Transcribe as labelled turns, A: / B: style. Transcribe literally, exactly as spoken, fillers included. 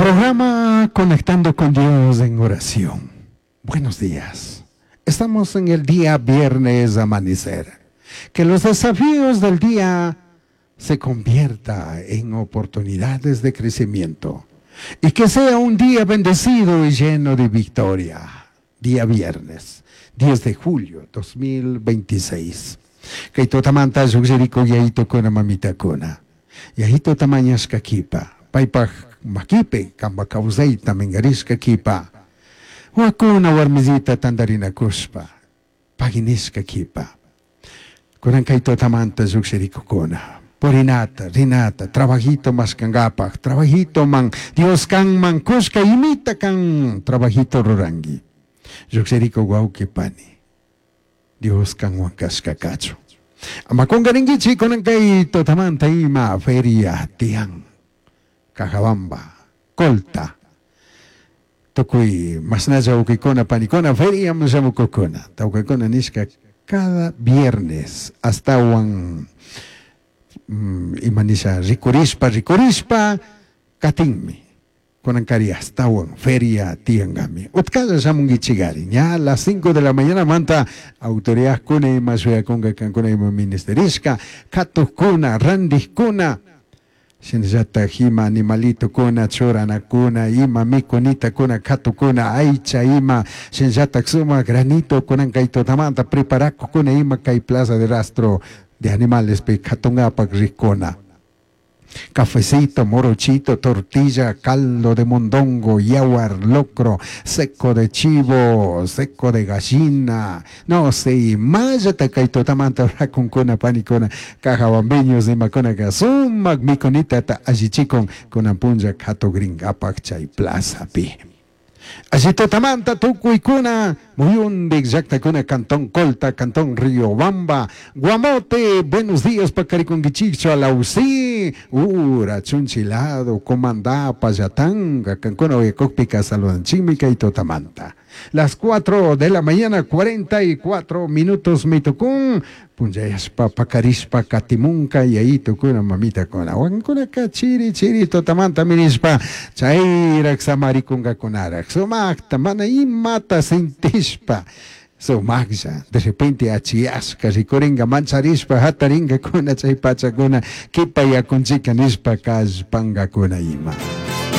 A: Programa Conectando con Dios en oración. Buenos días. Estamos en el día viernes amanecer. Que los desafíos del día se convierta en oportunidades de crecimiento y que sea un día bendecido y lleno de victoria. Día viernes, diez de julio dos mil veintiséis. Kay tutamanta llukshirikuk yayitukuna mamitakuna. Yayituta mañashka kipa. Paypak makipi kampak kawsayta minkarishka kipa. Wakuna warmisita tantarinakushpa. Pagui nishka kipa. Kunan kay tutamanta llukshirikukuna. Purinata, rinata, trabajito mashkangapak, trabajito man, Dios kanman kushka imita kan trabajito rurangi. Llukshirikuk wawki pani. Dios kanwan kashka kachun. Ama kungarinkichik kunan kay tutamanta ima feria tiyan. Cajabamba, Colta. Tukuy mashnalla wawkikuna panikuna feria shamukukuna. Tawkakuna nishka cada viernes astawan mm, ima nisha rikurishpa rikurishpa katinmi. Kunankari astawan feria tiyankami. Utkalla shamunkichikari. Ña a las cinco de la mañana manta autoridad kuna ima shuyakunka kankuna ima ministerishka katukuna randikuna shinallatak ima animalitokuna churanakuna ima mikunitakuna katukuna aycha ima shinallatak sumak granito kunan kay tutamanta preparakukuna ima kay plaza de rastro de animales pi katungapak rikuna. Cafecito, morochito, tortilla, caldo de mondongo, yawar, locro, seco de chivo, seco de gallina, no sé, imallata kay tutamanta rakunkuna panikuna, cajabambeños imakuna ka sumak mikunitata allichikun kunan punlla katugringapak chay plazapi. Alli tutamanta tukuykuna, muyundik llaktakuna, Cantón Colta, Cantón Riobamba, Guamote, buenos días pakarikunkichikchu, Alausí, Ura, Chunchilado, Comandá, Pallatanga, kankuna uyakukpika saludanchikmi kay tutamanta. Las cuatro de la mañana, cuarenta y cuatro minutos mitukun, punllayashpa pakarishpa katimunka yayitukuna mamitakuna. Wankunaka chiri chiri tutamanta minishpa chayrak samarikunkakakunarak. Sumakta mana imata sintishpa. Sumaklla, de repente achiyashka rikuringa mancharishpa hataringakuna chay pachakuna kipa yakunchika nishpa kallpankakuna ima.